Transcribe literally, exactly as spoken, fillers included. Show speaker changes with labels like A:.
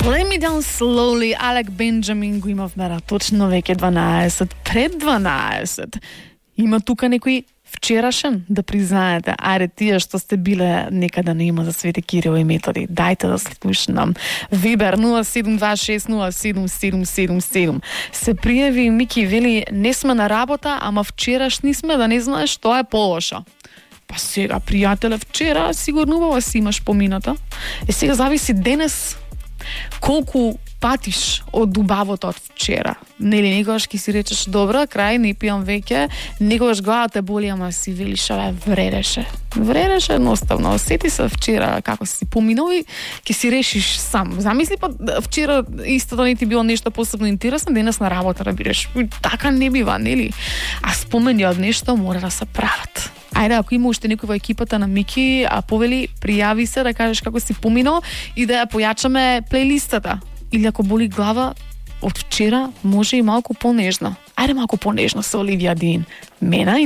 A: Let me down slowly, Алек Бенџамин го имавме на точно веќе дванаесет, пред дванаесет. Има тука некој вчерашен да признаете, ајде тие што сте биле некаде на има за Свети Кирил и Методи, дајте да слушнам. Вибер нула седум два шест нула седум седум седум седум. Се пријави Мики, вели не сме на работа, ама вчерашни сме, да не знаеш што е полошо. Па сега, пријателе, вчера сигурно убаво си имаш помината. Е сега зависи денес колку патиш од убавото од вчера. Нели, некогаш ќе си речеш, добро, крај, не пијам веќе, некогаш главата боли, ама си велиш, абе, вредеше. Вредеше едноставно. Сети се вчера како си поминал и ќе си решиш сам. Замисли, па вчера исто да не ти било нешто посебно интересно, денес на работа да бидеш. Така не бива, нели? А спомени од нешто мора да се прават. Ајде, ако има уште некој во екипата на Мики, а повели, пријави се да кажеш како си поминал и да ја појачаме плейлистата. Или ако боли глава од вчера, може и малку понежно. Ајде малку понежно со Оливија Дин. Мена и